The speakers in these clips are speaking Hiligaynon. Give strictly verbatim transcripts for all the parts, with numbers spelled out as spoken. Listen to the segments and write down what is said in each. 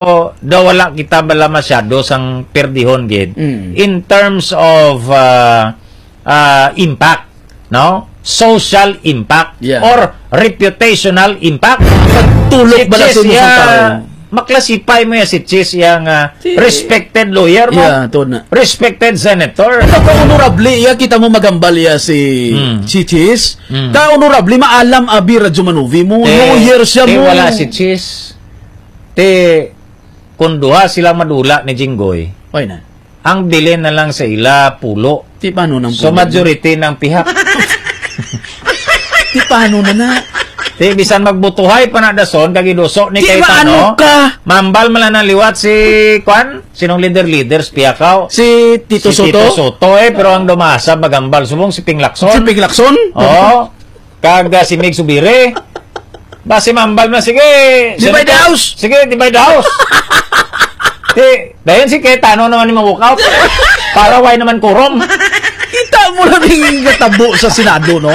daw wala kita bala masyado sang perdihon gid Mm. in terms of, ah, ah, impact, no? Social impact Yeah. or reputational impact. Pagtulok Si bala Chis sa imong iya, tao. Maklasify mo ya si Chis iya nga Si respected lawyer mo. Yeah, to na. Respected senator. Ito ka honorable iya, kita mo magambal iya si Hmm. si Chis. Hmm. Ka honorable, maalam abi Radyo Manuvi mo. Te, Lawyer siya te, mo. Wala si Chis. Te, kung duha sila madula ni Jinggoy, Oy na. ang bilin na lang sa ila, pulo. Di paano nang So, pulo? majority ng pihak. Di paano na na? Di, bisan magbutuhay pa na dason, kag iduso ni Di Cayetano, maano ka? mambal man lang ng liwat si, kwan? Sinong leader-leaders, piyakaw? Si Tito Si Soto? Tito Soto, eh, pero ang dumasa, magambal. Subong si Ping Lacson. Si Ping Lacson? Oo. Kag, ah, si Mig Subiri. Basi mambal na, sige, Divide the Senator. house. Sige, divide the house. Di, dayon si Cayetano naman ni ma-walk out. Para why naman quorum? Kita mo lang yung natabo sa Senado, no?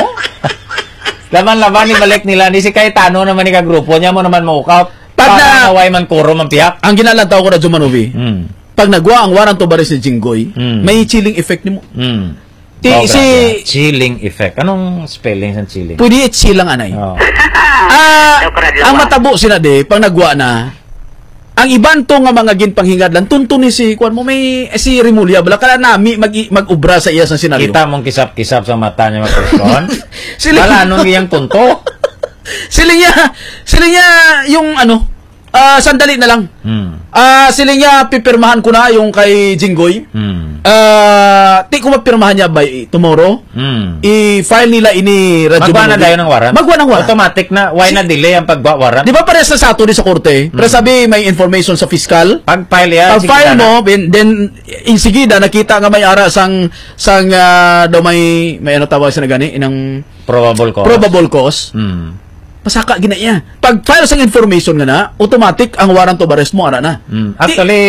Laban-laban ni balik nila, ni si Cayetano naman ni kagrupo niya mo naman ma-walk out. Pag Para na- na why man quorum ang pihak. Ang ginalantaw ko na, Jumanovi, Hmm. pag nagwa ang warrant of arrest ni Jinggoy, Hmm. may chilling effect nimo. Hmm. Ti-, Oh, si grabe. Chilling effect. Anong spelling sa chilling? Pwede i-chill lang, anay. Oh. Ah, Shukran, ang Luma. matabo sila, di, pag nagwa na, ang iban to nga mga ginpanghingadlan, tunto ni si, kuwan mo, may, eh, si Remulla, bala ka nami mag-, mag-ubra sa iya sa senaryo. Kita mong kisap-kisap sa mata niya, mga person. Sila Bala, anong iyang tunto? Sila niya, sila niya yung, ano, ah, sandali na lang. Hmm. Ah, sila niya, pipirmahan ko na yung kay Jinggoy. Hmm. Ah, ti ko mapirmahan niya by tomorrow. Hmm. I-file nila ini, Radyo Magwa na Manubi. dayon ang warrant? Magwa ng warrant. Automatic na. Why Si- na delay ang pagwa warrant? Di ba parehas na sa ato di sa korte? Pero Hmm. sabi may information sa fiscal. Pag-file yan, Pag sige file na. mo, ben-, then, insigida, nakita nga may ara sang, sang, ah, daw may, may ano tawag sa nagani, inang Probable cause. probable cause. Hmm. Pasaka gina iya. Pag file sang information nga na, automatic ang warrant of arrest mo, ara na. Hmm. Di- Actually,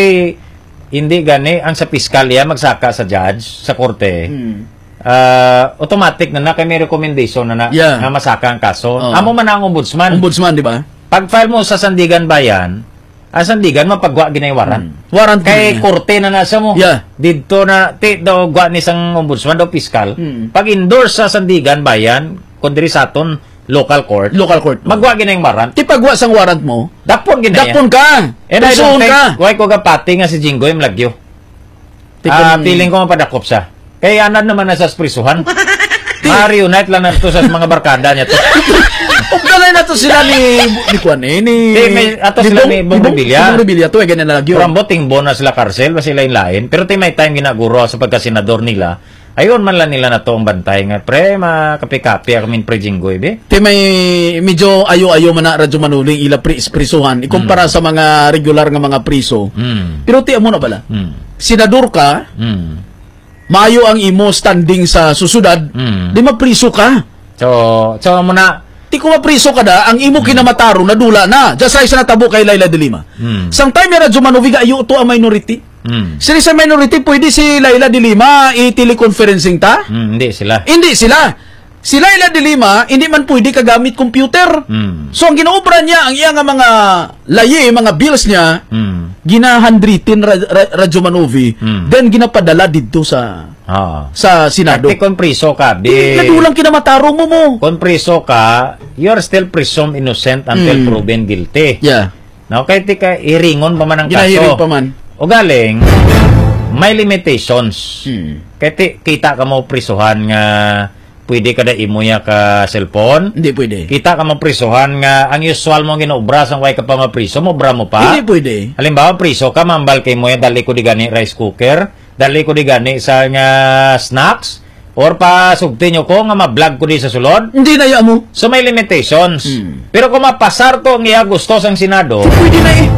hindi gani ang sa piskal iya magsaka sa judge, sa korte. Hmm. Ah, automatic na na kay may recommendation na na Yeah. nga masaka ang kaso. Oh. Amo man ang ombudsman. Ombudsman, di ba? Pag file mo sa Sandigan Bayan, ang Sandigan mapagwa ginay warrant. Hmm. Warrant Kay gina. korte na nasa mo. Yeah. Didto na, ti, daw gwa ni sang ombudsman, daw piskal. Hmm. Pag endorse sa Sandigan Bayan, kung diri sa aton, local court, Local court. magwa ginay warrant. Ti pagwa sang warrant mo, Dapon ginay. dapon ka. And I don't Prisuhon think, ka. why ko gapati nga si Jinggoy malagyo? Ti Ah, kun- feeling ko mapadakop siya. Kay anad naman na sa prisuhan. Ti- Ma-reunite lang na to sa mga barkada niya to. Ugdalay na to sila ni, ni Kwan eh, ni Ti, may, ato ni sila Bong, ni Bong ni Bong, Revilla. ni Bong Revilla to, eh, ganyan na lagyo. Pero ang boting bona sila karsel, ba sila yung lain. Pero ti may time ginaguro sa pagkasenador nila, ayon man lang nila na to ang bantay nga, pre, makapi-kapi ako min pre Jinggoy, be. Ti may medyo ayo-ayo man na Radyo Manuling ila pri-, prisuhan, ikumpara Mm. sa mga regular nga mga priso. Mm. Pero ti amo na bala. Mm. Senador ka, Mm. maayo ang imo standing sa susyudad, Mm. di mapriso ka. So, so mo na. Ti ko mapriso ka da, ang imo Mm. kinamatarong nadula na. Just like sa natabo kay Leila de Lima. Mm. Sang time ni Radyo Manuviga, ayo to ang minority. Mm. Sila sa minority, pwede si Leila de Lima i-teleconferencing ta? Mm, hindi sila. Hindi sila. Si Leila de Lima, hindi man pwede kagamit computer. Mm. So, ang ginaobra niya, ang iya nga mga layi, mga bills niya, Mm. gina-handwritten ra-, ra-, Radyo Manovi, Mm. then ginapadala didto sa, Oo. sa Senado. Kati kung priso ka, Di, di. nadulang kinamatarong mo mo. Kung priso ka, you are still presumed innocent until Mm. proven guilty. Yeah. No, kay ti ka iringon pa man ang Ginahiring kaso. pa man. O galing, may limitations. Hmm. Kay ti, kita ka mo prisuhan nga pwede ka da imo ya ka cellphone. Hindi pwede. Kita ka mo prisuhan nga ang usual mo ginaobra sang way ka pa mapriso, mo obra mo pa. Hindi pwede. Halimbawa, priso ka, mambal kay mo ya, dali ko di gani rice cooker, dali ko di gani sa nga snacks, or pa sugti nyo ko nga ma-vlog ko di sa sulod. Hindi na ya mo. So may limitations. Hmm. Pero kung mapasar to ang iya gusto sang Senado, Pwede na eh.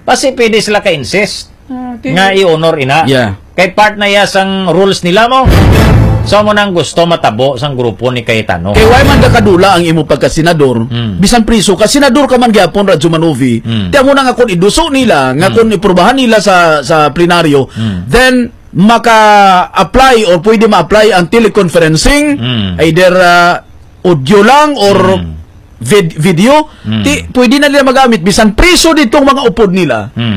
basi pwede sila ka-insist Ah, okay. nga i-honor ina. Yeah. Kay part na iya sang rules nila mo. So mo nang gusto matabo sang grupo ni Cayetano. Kay why man nakadula ang imo pagka-senador, Hmm. bisan priso ka, senador ka man gyapon, Radyo Manovi, Hmm. ti amo na nga kung iduso nila, nga Hmm. kung iprubahan nila sa, sa plenaryo, Hmm. then maka-apply or pwede ma-apply ang teleconferencing, Hmm. either, ah, audio lang or Hmm. vid- video, Mm. ti pwede na nila magamit bisan priso ditong mga upod nila. Mm.